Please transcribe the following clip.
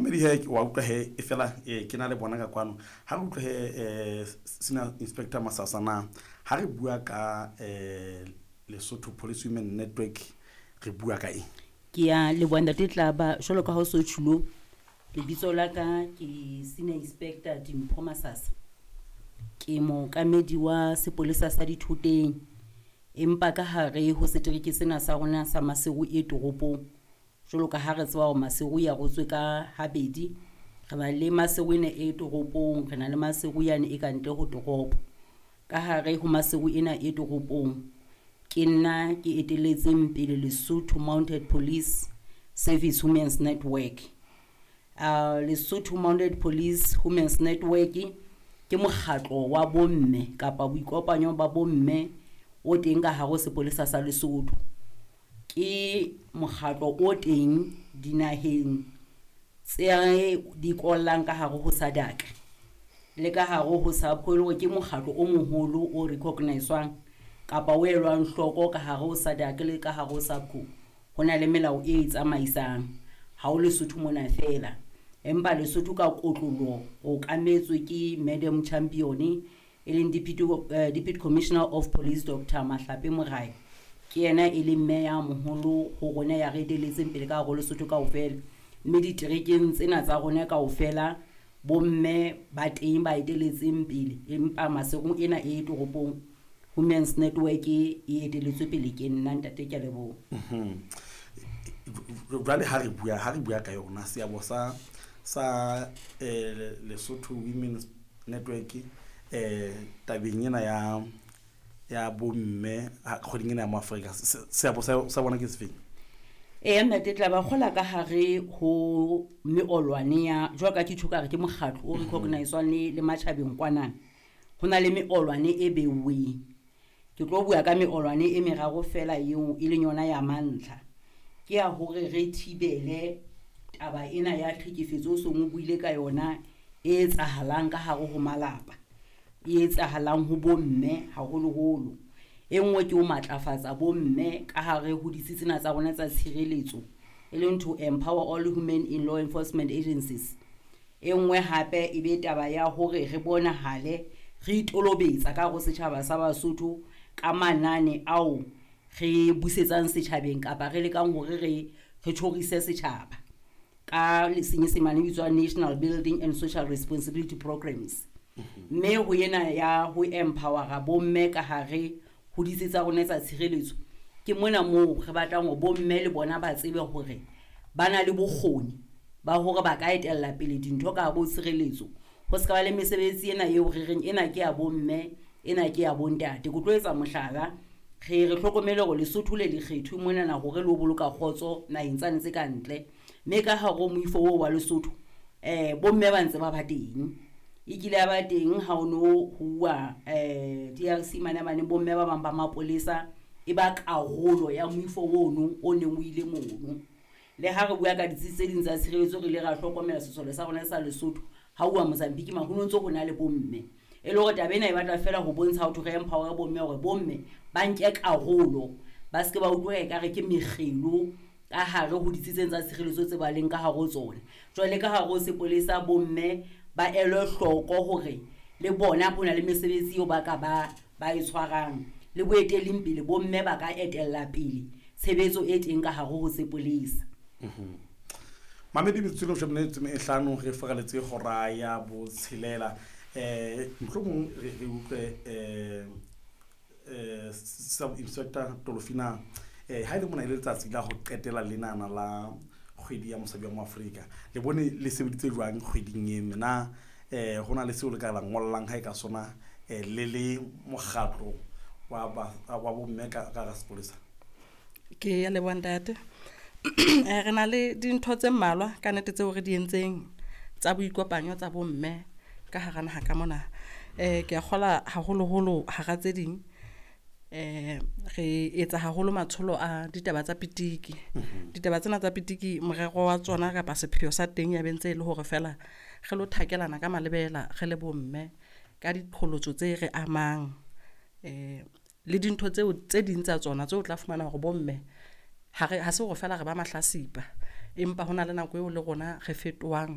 Mmedi he wa utlwa he e fela ke na le bona ka kwano. Ha re utlwe he Senior Inspector Masasa na ha re bua ka Lesotho Police Women Network re bua ka eng? Ke ya leboha ntate Tlaba jwalo ka ha o so tjhulo lebitso la ka ke Senior Inspector Dimpho Masasa. Ke mookamedi wa sepolesa sa Dithoteng empa ka hare ho setereke sena sa rona sa Maseru e toropong. Jwalo ka ha re tseba hore Maseru e arotswe ka habedi, re na le Maseru ena e toropong, re na le Maseru yane e ka ntle ho toropo. Ka hare ho Maseru ena e toropong, ke nna ke eteletseng pele Lesotho Mounted Police Service Women's Network. Lesotho Mounted Police Women's Network ke mokgatlo wa bomme kapa boikopanyo ba bomme o teng ka hare ho sepolesa sa Lesotho. Ke mokgatlo o teng dinaheng tse di kollang ka hare ho SADC le ka hare ho SAPCO e le hore ke mokgatlo o moholo o recognise-wang kapa o elwang hloko ka hare ho SADC le ka hare ho SAPCO. Ho na le melao e tsamaisang ha o Lesotho mona fela, empa Lesotho ka kotloloho o okametswe ke Madam Champion e leng Deputy Commissioner of Police Dr Mahlape Morai. Ke yena e leng mme ya moholo ho rona ya re eteletseng pele ka hare ho Lesotho kaofela. Mme diterekeng tsena tsa rona kaofela bomme ba teng ba eteletseng pele, empa Maseru ena e toropong Women's Network e eteletswe pele ke nna ntate, ke a leboha. Jwale ha re bua ka yona seabo sa Lesotho Women's Network tabeng ena ya bomme kgweding ena ya mo Afrika, seabo sa bona ke sefeng? Eya ntate Tlaba, kgola ka hare ho meolwane ya jwalo ka ke tjho ka re ke mokgatlo o recognise-wang le matjhabeng kwanana. Ho na le meolwane e beuweng. Ke tlo bua ka meolwane e meraro fela eo e leng yona ya mantlha. Ke ya hore re thibele taba ena ya tlhekefetso o seng o buile ka yona e etsahalang ka hare ho malapa, e etsahalang ho bomme haholoholo. E nngwe ke ho matlafatsa bomme ka hare ho ditsi tsena tsa rona tsa tshireletso, e leng to empower all women in law enforcement agencies. E nngwe hape e be taba ya hore re bonahale re itolobetsa ka hare ho setjhaba sa Basotho ka manane ao re busetsang setjhabeng kapa re lekang hore re tjhorise setjhaba ka senyesemane e bitswang National Building and Social Responsibility Programs. Mme ho ena ya ho empowera bomme ka hare ho ditsi tsa rona tsa tshireletso, ke mona moo re batlang hore bomme le bona ba tsebe hore ba na le bokgoni ba hore ba ka etella pele dintho ka hare ho tshireletso. Ho se ka ba le mesebetsi ena eo re reng ena ke ya bomme, ena ke ya bontate. Ke tlo etsa mohlala, re hlokomele hore Lesotho le lekgetho monana hore le ho boloka kgotso naheng tsane tse ka ntle. Mme ka hare ho moifo oo wa Lesotho, bomme ba ntse ba ba teng. E kile ya ba teng ha o no huwa DRC mane mane, bomme ba bang ba mapolesa e ba karolo ya moifo ono o neng o ile mono. Le ha re bua ka ditsi tse ding tsa tshireletso, re ile ra hlokomela sesole sa rona sa Lesotho ha uwa Mozambique ma ho no ntso ho na le bomme. E le hore taba ena e batla fela ho bontsha ho thwe re empower bomme hore bomme ba nke karolo, ba se ke ba utlwa ekare ke mekgelo ka hare ho ditsi tsena tsa tshireletso tse ba leng ka hare ho tsona. Jwale ka hare ho sepolesa bomme ba elwe hloko hore le bona ho na le mesebetsi eo ba ka ba e tshwarang, le boetelling pele bomme ba ka etella pele tshebetso e teng ka hare ho sepolesa. Mamedi metsotso e leshome le metso e hlano re furaletse hora ya botshelela. Mohlomong re utlwe Sub Inspector Tolofina, ha e le mona e le letsatsi la ho qetela lenana la kgwedi ya mosadi wa Moafrika, le bone le sebeditse jwang kgweding e mena? Ho na le seo le ka la ngollang ha e ka sona, le le mokgatlo wa bomme ka hara sepolesa? Ke ya leboha ntate. Re na le dintho tse mmalwa ka nnete tseo re di entseng tsa boikopanyo tsa bomme ka hara naha ka mona. Ke a kgola haholoholo hara tse ding, re etsa haholo matsholo a ditaba tsa pitiki. Ditaba tsena tsa pitiki morero wa tsona kapa sepheo sa teng ya bentse e le hore fela re lo thakelana ka malebela re le bomme ka diqholotso tse re amang, le dintho tseo tse ding tsa tsona tseo o tla fumana hore bomme ha se hore fela re ba mahlasipa, empa hona le nako eo le rona re fetohang.